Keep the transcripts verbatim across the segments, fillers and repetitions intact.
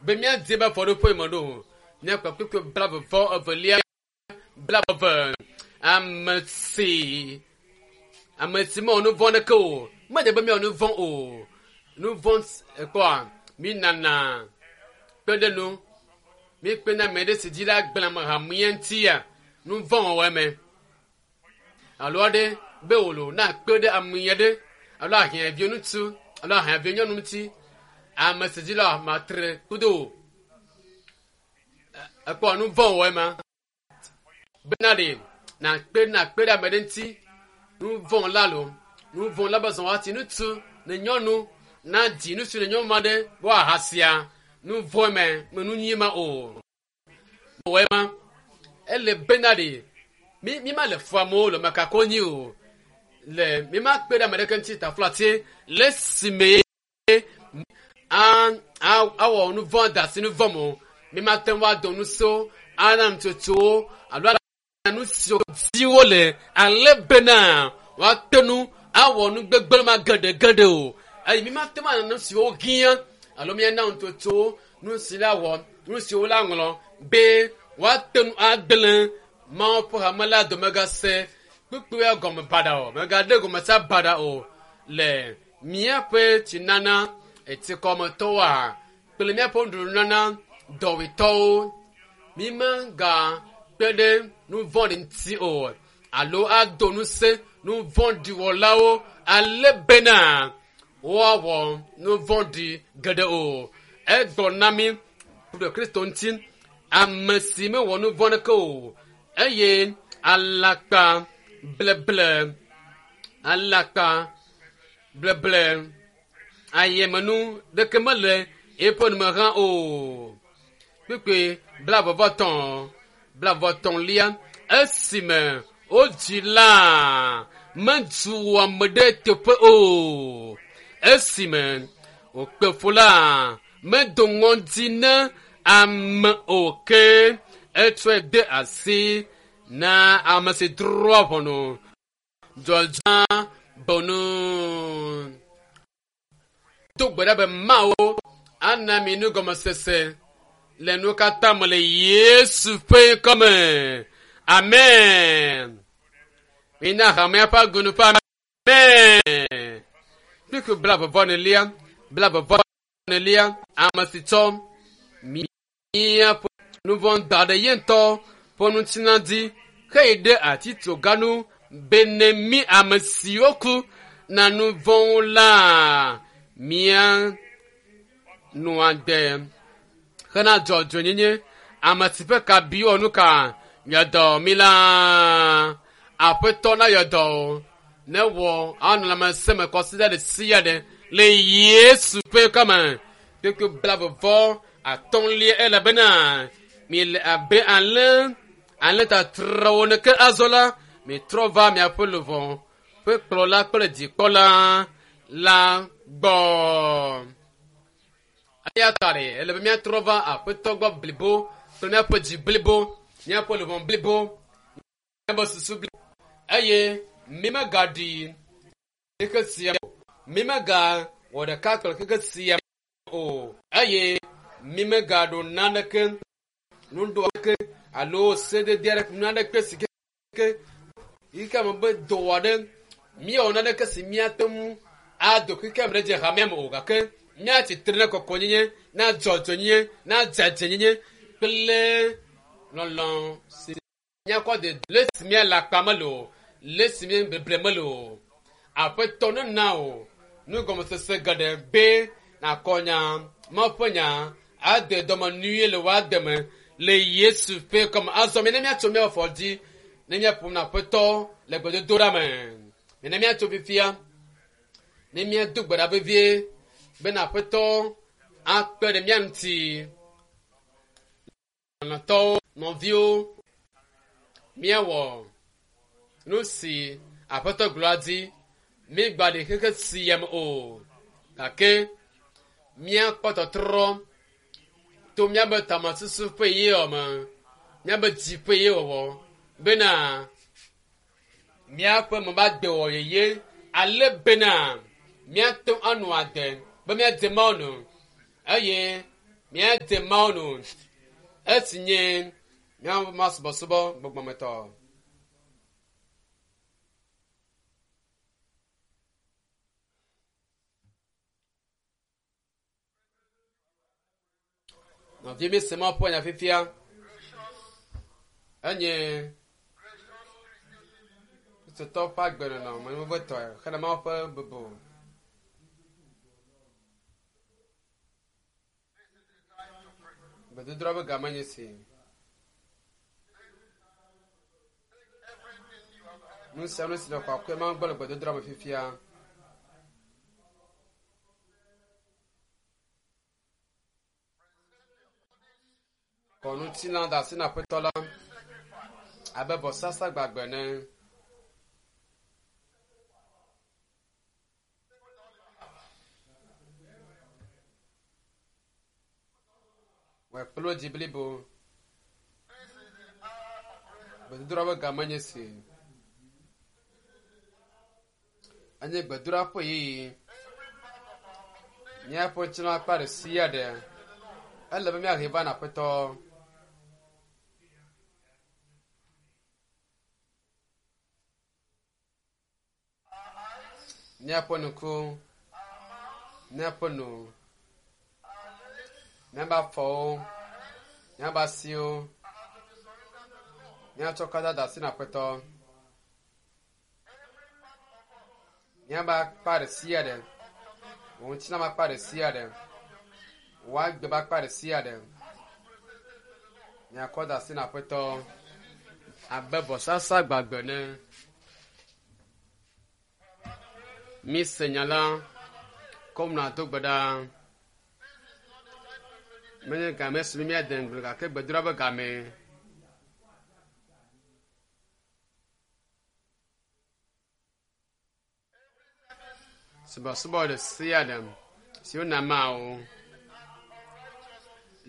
Be míadi be afɔɖoƒe me ɖo. Míakpɔ kpukpui blaeve vɔ evelia blaeve. Ame si ame si mewɔ nu vɔ̃ ɖeke o. Mede be míawɔ nu vɔ̃ o. Nu vɔ̃ ekpɔa mí nana kpe ɖe nu. Mi kpe na ame ɖe si dzi la gblẽ ame hamea ŋutia nu vɔ̃ wɔwɔ me. Alo aɖe be wòlo na kpe ɖe ame aɖe alo ahiãviwo ŋuti alo ahiãviwo nyɔnu ŋuti. Ame si dzi la matre kudo o. Ekpɔ nu vɔ̃ wɔwɔ ma. Bena ɖe na kpe na kpe ɖe ame ɖe ŋuti nu vɔ̃ la lo nu vɔ̃ la be zɔn ati ŋutsu ne nyɔnu na dzi ŋutsu ne nyɔnu ma ɖe be woahasia nu vɔ̃ me me nu nyui ma o. Wɔe ma ele bena ɖe mi mi ma le fu amewo le mekako nyi o le mi ma kpe ɖe ame ɖeke ŋuti taflatse le esime a a awɔ nu vɔ̃ da asi nu vɔ̃ me o. Mi ma te ŋu ado nusewo ana nutsotsowo alo ana nu siwo di wole ale bena woate ŋu awɔ nu gbegblẽ ma geɖegeɖe o. Eye mi ma te ŋu ana nu siwo hiã alo míana nutsotsowo nu si la wɔ nu siwo la ŋlɔ be woate ŋu agblẽ Mawu ƒe hame la dome gase kpukpuia gɔme baɖa o megaɖe gɔmesa baɖa o le míaƒe tsinana etsikɔmetɔwoa kple míaƒe nuɖuɖunana dɔwɔetɔwo mi mega kpe ɖe nu vɔ̃ɖi ŋuti o alo ado ŋusẽ nu vɔ̃ɖi wɔlawo ale bena woawɔ nu vɔ̃ɖi geɖe o. Egblɔ na mi ɖe Kristo ŋuti ame si mewɔ nu vɔ̃ ɖeke o eye alakpa bleble alakpa bleble ayemenu ɖeke mele eƒe nume hã o. Kpukpui blaeve vɔ etɔ̃ blaeve vɔ etɔ̃lia esime wodzi la medu ame ɖe teƒe o. Esime wòkpe fu la medo ŋɔdzi na ame o ke etsɔe de asi na ame si drɔ̃a ʋɔnu dzɔdzɔa bonu. Do gbe ɖa be Mawu ana mi nugɔmesese le nu katã me le Yesu ƒe ŋkɔme. Amen. Mina hamea ƒe agunu ƒe amen. Kpukpui blaeve vɔ enelia blaeve vɔ enelia ame si tsɔ míaƒe nu vɔ̃ da ɖe ye ŋutɔ ƒe ŋutilã dzi heyí ɖe atitsoga nu bene mí ame siwo ku na nu vɔ̃wo la mía nɔ agbe hena dzɔdzɔenyenye ame si ƒe kabi wɔ nu ka yɔdɔ mi la aƒetɔ na yɔdɔ o ne wɔ anɔ lãmesẽ me kɔsiɖa ɖe sia ɖe le Yesu ƒe ŋkɔme. Kpukpui blaeve vɔ atɔ̃lia elabena miele abe alẽ alẽ tatrawo ene ke azɔ la mitrɔ va miaƒe luʋɔ ƒe kplɔla kple dzikpɔla la gbɔ. Eya ta ɖe ele be míatrɔ va aƒetɔ gbɔ blibo kple míaƒe dzi blibo, míaƒe luʋɔ blibo, míaƒe susu blibo eye mi megaɖi xexe sia o. Mi megawɔ ɖeka kple xexe sia o eye mi megaɖo naneke nuɖo aɖeke alo sedede aɖeke naneke si ke yi ke ame be dɔ aɖe míewɔ naneke si míate ŋu ado xexea me ɖe dze hamea me o gake míatsi tre na kɔkɔnyenye na dzɔdzɔenyenye na dzadzɛnyenye kple lɔlɔ̃ si míakɔ de le si míale akpa mele o le si míebeble mele o. Aƒetɔ nena o nugɔmesese geɖe be nakɔ nya Mawu ƒe nya ade dɔme nyuie le wò ade me le Yesu ƒe ŋkɔme. Azɔ mi ne míatso míaƒe afɔ dzi ne míaƒo na Aƒetɔ le gbedodoɖa me. Mi ne míatso fifia ne míado gbe ɖa vevie bena Aƒetɔ akpe ɖe mía ŋuti. Lɔlɔ̃tɔwo, nɔviwo, míawɔ nu si Aƒetɔ gblɔa dzi. Mígbaɖi xexe sia me o gake míakpɔ tɔtrɔ to míaƒe tamesusu ƒe yeyewɔ me, míaƒe dzi ƒe yeyewɔwɔ bena míaƒe me va de wɔ yeye ale bena míate ŋu anɔ agbe be míadze Mawu nu eye Míade Mawu nu. Esi nye míaƒe masubɔsubɔ gbɔgbɔmetɔ. Nɔvi mi se Mawu ƒe nya fifia. Enye Kristotɔwo ƒe agbenɔnɔ menuvevitɔe hena Mawu ƒe bubu. Gbedodoɖa ƒe game nye si. Nu sia nu si le kɔkɔe Mawu gbɔ le gbedodoɖa me fifia. Kɔ ŋutilã da asi na Aƒetɔ la abe vɔsasa gbagbe ene. Wòe kple wò dzi blibo. Gbedodoɖa ƒe game nye si. Enye gbedodoɖa ƒe ɣeyiɣi. Míaƒe ŋutilã akpa ɖe sia ɖe ele be míahe va na Aƒetɔ. Míaƒe ŋku, míaƒe nu, míaƒe afɔwo, míaƒe asiwo, míatsɔ katã da asi na Aƒetɔ. Míaƒe akpa ɖe sia ɖe, wò ŋutilã ƒe akpa ɖe sia ɖe, wò agbe ƒe akpa ɖe sia ɖe, miakɔ da asi na Aƒetɔ abe vɔsasa gbagbe ene. Mi se nya la, kɔm nàdo gbe ɖa. Menye game si mi míade ŋugble gake gbedoɖa ƒe game. Subɔsubɔ ɖe sia ɖe si wona Mawu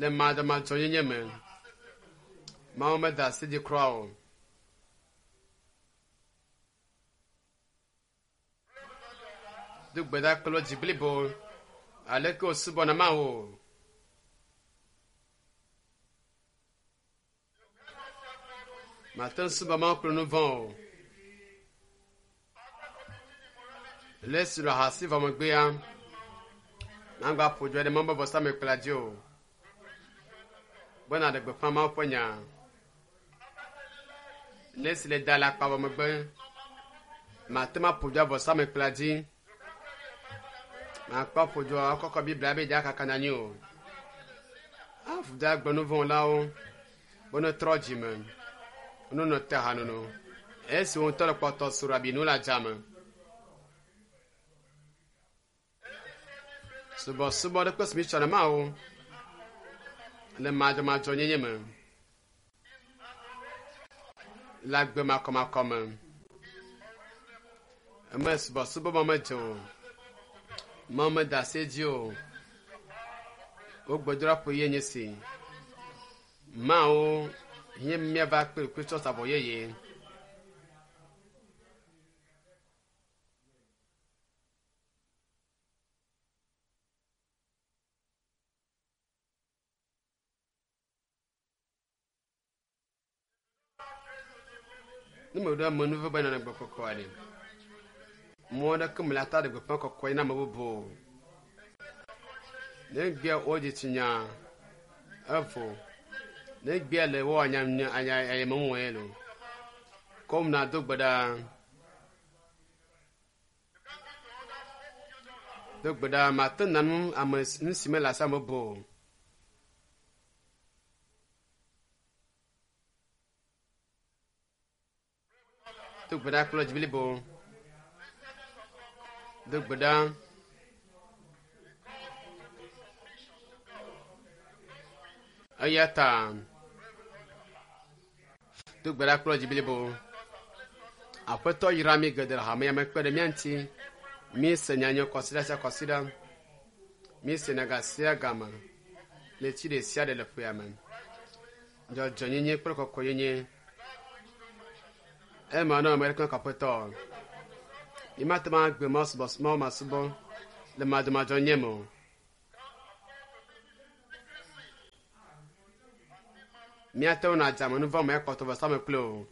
le madzɔmadzɔnyenye me. Mawu meda asi dzi kura o. Do gbe ɖa kple dzi blibo aleke wòsubɔna Mawu. Mate ŋu subɔ Mawu kple nu vɔ̃ o. Le esi le ahasi vɔ megbea, magba ƒo dzo ɖe Mawu ƒe vɔsamlekpui la dzi o. Be nàɖe gbeƒã Mawu ƒe nya. Le esi le da le akpa vɔ megbe, mate ŋu aƒo dzo vɔsamlekpui la dzi. Makpɔ ƒo dzo akɔkɔ Biblia be dza kaka na anyi o. Avu da gbe nu vɔ̃lawo be ne trɔ dzime, ne nɔ te hanono. Esi wo ŋutɔ le kpɔtɔ srɔ̃ abinu le adzame. Subɔsubɔ ɖe kpe si mi tsɔ na Mawu le madzɔmadzɔnyenye me, le agbe makɔmakɔ me. Eme subɔsubɔ ma medze o. Mawu meda asi edzi o. Wo gbedoɖa ƒe ɣeyiɣi nye si. Mawu hiã míava kpe Kristo sa vɔ yeye. Ne meɖo amenuveve be nana gbe kɔkɔe aɖe. Mɔ aɖeke mele ata ɖe gbeƒã kɔkɔe na ame bubu o. Ne gbea wo dzitsinya evo. Ne gbea le wo anya anya ayemewɔe lo. Kɔm na do gbe ɖa. Do gbe ɖa mate na nu ame nu si mele asi ame bubu o. Do gbe ɖa kple dzi blibo. Do gbe ɖa. Eya ta do gbe ɖa kple dzi blibo. Aƒetɔ yra mi geɖe le hamea me kpe ɖe mía ŋuti. Mi se nya nyui kɔsiɖa sia kɔsiɖa. Mi se nya ga sia game le tsi ɖe sia ɖe le ƒea me. Dzɔdzɔnyenye kple kɔkɔenyenye. Ema na ame ɖeke kɔƒetɔ. Mi mate ŋu agbe Mawu subɔsubɔ Mawu masubɔ le madzɔmadzɔnyenye me o. Míate ŋu nadze amenuvɔ me ekpɔtɔ vɔsamlekpui o.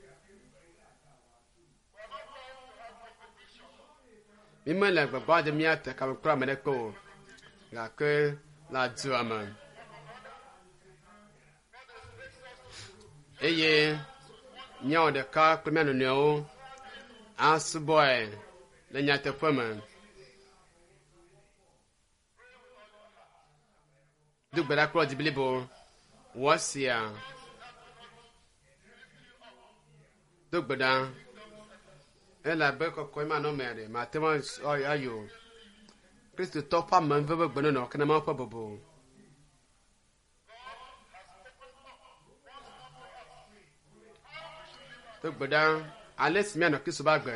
Mímele gbagba dzem míate kame kple ame ɖeke o gake le adua me. Eye míawɔ ɖeka kple mía nɔnɔewo asubɔe le nyateƒe me. Do gbe ɖa kple dzi blibo. Wɔ esia. Do gbe ɖa. Elabe kɔkɔe manɔmea ɖe mate ŋu ayi o. Kristotɔ ƒe amenuveve ƒe gbenɔnɔ ke na Mawu ƒe bubu. Do gbe ɖa ale si míanɔ Kristo ƒe agbe.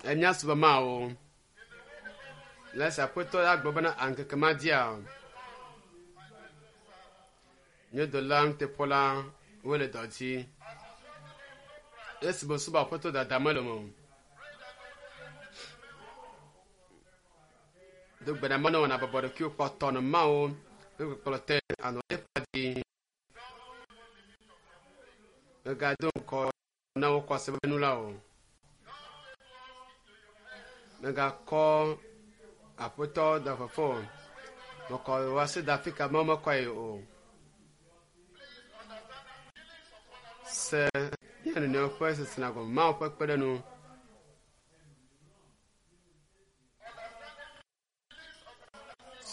Emía subɔ Mawu. Le esi Aƒetɔ la gblɔ bena ŋkeke ma dzia, nye dɔla nuteƒewɔla wole dɔ dzi. Esi mesubɔ Aƒetɔ dada mele me o. Do gbe ɖa menɔ wɔna bɔbɔ ɖokuiwo kpɔtɔ nɔ Mawu ƒe kpɔkplɔ te anɔ eƒe dzi. Mègado ŋkɔ na wo kɔse ƒe nu la o. Mègakɔ Aƒetɔ da fefe o. Mekɔ wò asi da afi ka Mawu mekɔe o. Se mía nɔnɔewo ƒe sesẽna gɔme Mawu ƒe kpeɖeŋu.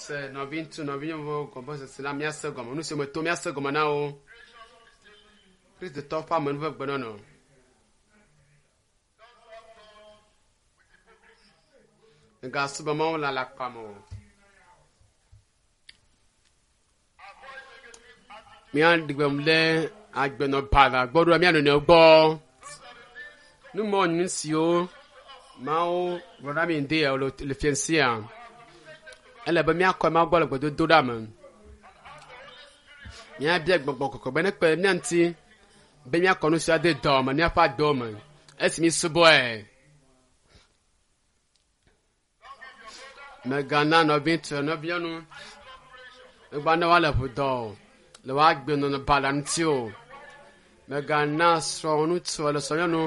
Se nɔviŋutsu nɔvinyɔnuwo gɔme sese la míase gɔme. Nu si me tom míase gɔme na wo. Kristotɔ ƒe amenuveve gbenɔnɔ. Mègasubɔ Mawu le alakpa me o. Míaɖi gbe ɖe agbenɔbaɖa gbɔ ɖo mía nɔnɔewo gbɔ. Numɔ nyui siwo Mawu gblɔ na mí ŋdi le fiẽ sia. Ele be míakɔ Mawu gbɔ le gbedodoɖa me. Míabia gbɔgbɔ kɔkɔe be nekpe ɖe mía ŋuti be míakɔ nu sia de dɔ me míaƒe agbewo me esi mísubɔe. Mègana nɔviŋutsu nɔvinyɔnu megba na woale ʋu dɔ o le woa agbenɔnɔ baɖa ŋuti o. Mègana srɔ̃ŋutsu alo srɔ̃nyɔnu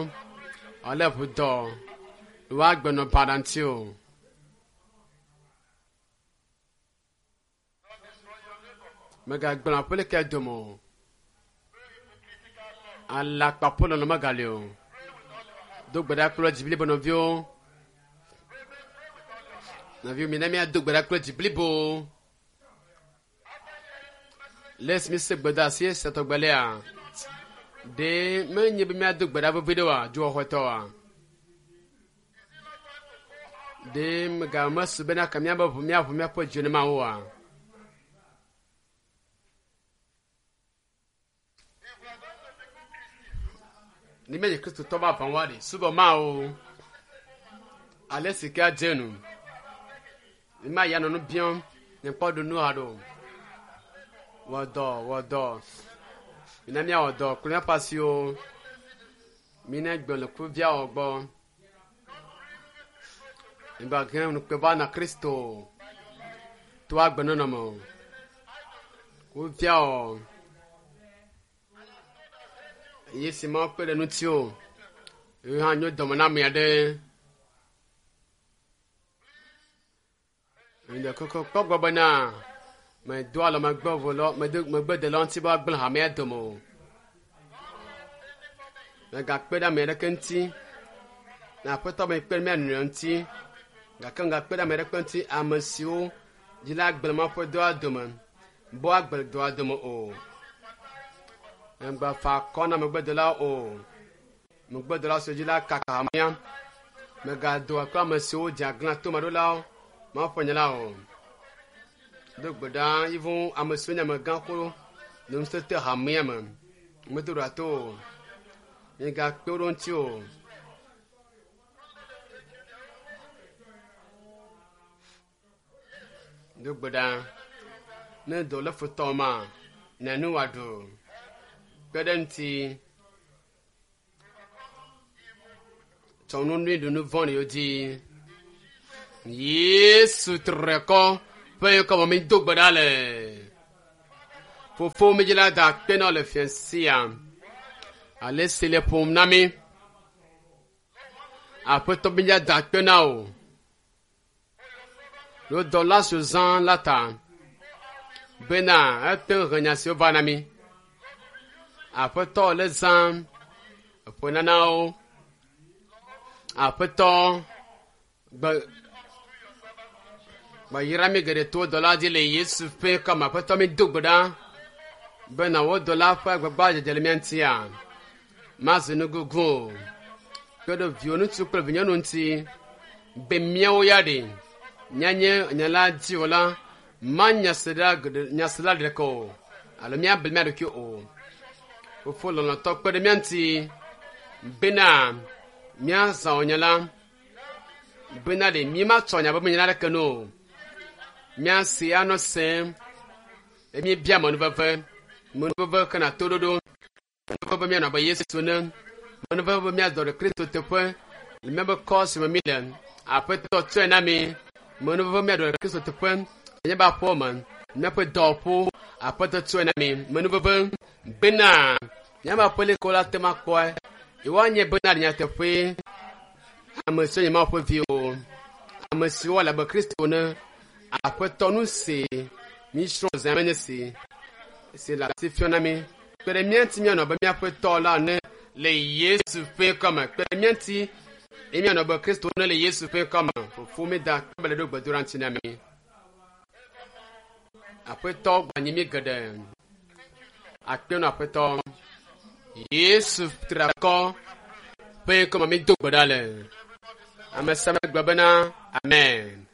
wòale ʋu dɔ le woa agbenɔnɔ baɖa ŋuti o. Mègagblẽ aƒelika dome o. Alakpa ƒe lɔlɔ̃ megali o. Do gbe ɖa kple dzi blibo nɔviwo. Nɔviwo mina míado gbe ɖa kple dzi blibo. Le esi míese gbedeasi esia tɔgbe lea, ɖe menye be míado gbe ɖa vevi ɖe oa, dzoxɔxɔetɔa? Ɖe megamesu bena ke míabe ʋu míaʋu míaƒe dzo ne Mawu oa? Ne míenye Kristotɔ vavãwoa ɖe, subɔ Mawu ale si ke adze nu. Mímayi anɔ nu biam ne kpɔ ɖu nu haɖe o. Wɔ dɔ, wɔ dɔ. Mina míawɔ dɔ kple míaƒe asiwo. Mina gbe le kuviawo gbɔ. Migbahe ŋukpe va na Kristo to agbenɔnɔ me o. Kuviawo. Eye si Mawu kpe ɖe ŋuti o. Ye hã nyo dɔme na ame aɖe. Ŋdɔ kɔkɔ kpɔ gbɔ bena medo alɔ megbe vo lɔ medo megbe de lɔ ŋuti be woagblẽ hamea dome o. Megakpe ɖe ame aɖeke ŋuti. Na Aƒetɔ be kpe ɖe mía nɔnɔewo ŋuti. Gake megakpe ɖe ame aɖeke ŋuti ame siwo dzi la gblẽ Mawu ƒe dɔa dome be woagblẽ dɔa dome o. Megbafa akɔ na megbedelawo o. Megbedelawo siwo dzi la kaka hamea. Megado akɔ ame siwo dze aglã tomaɖolawo Mawu ƒe nya la o. Do gbe ɖa yivu ame siwo nye amegãxo le ŋusẽ hamea me. Medo ɖa to o. Migakpe wo ɖe ŋuti o. Do gbe ɖa ne dɔ lé futɔ ma, na nu wòaɖu. Kpe ɖe ŋuti. Tsɔ nu nyui ɖu nu vɔ̃ɖiwo dzi. Yesu tre kɔ ƒe ŋkɔ me mído gbe ɖa le. Fofo mi dzi la da akpe na wo le fia sia. Ale si le ƒom na mi. Aƒetɔ mi dzi da akpe na wo. Lo dɔla si zã la ta. Bena ete ŋu he nya siwo va na mi. Aƒetɔ le zã eƒe nanawo. Aƒetɔ gbe gbeyra mi geɖe to dɔla dzi le Yesu ƒe kɔme. Aƒetɔ mi do gbe ɖa bena wo dɔla ƒe agbagba dzedze le mía ŋutia mazu nugugu o. Kpe ɖe viwò ŋutsu kple vinyɔnu ŋuti be míawo ya ɖe míanye nya la dziwɔla manyasela geɖe nyasela ɖeke o alo míable mía ɖokui o. Fofo lɔlɔ̃tɔ kpe ɖe mía ŋuti bena míazã wò nya la bena ɖe mímatsɔ nya be nya aɖeke nu o. Míasi anɔ sem eye míebia menuveve menuveve kena toɖoɖo menuveve be míanɔ abe Yesu ene menuveve be míadɔ ɖe Kristo teƒe le míaƒe kɔ si me míle. Aƒetɔ tsɔe na mi menuveve míaɖo ɖe Kristo teƒe le míaƒe aƒewo me míaƒe dɔwɔƒewo aƒetɔ tsɔe na mi menuveve bena míaƒe aƒelikawo la te ŋu akpɔe yewoanye bena le nyateƒe ame siwo nye Mawu ƒe viwo ame siwo le abe Kristo ene aƒetɔ nu si mísrɔ̃ zã menye si si le asi fiɔm na mi kpe ɖe mía ŋuti míanɔ abe míaƒe tɔ la ene le Yesu ƒe ŋkɔme kpe ɖe mía ŋuti eye míanɔ abe Kristo ene le Yesu ƒe ŋkɔme fofo mi da akpe le ɖo gbedoɖa ŋuti na mi aƒetɔ gbanyi mi geɖe akpe nɔ aƒetɔ Yesu triakɔ ƒe ŋkɔme mi do gbe ɖa le ame sia ame gblɔ bena amen.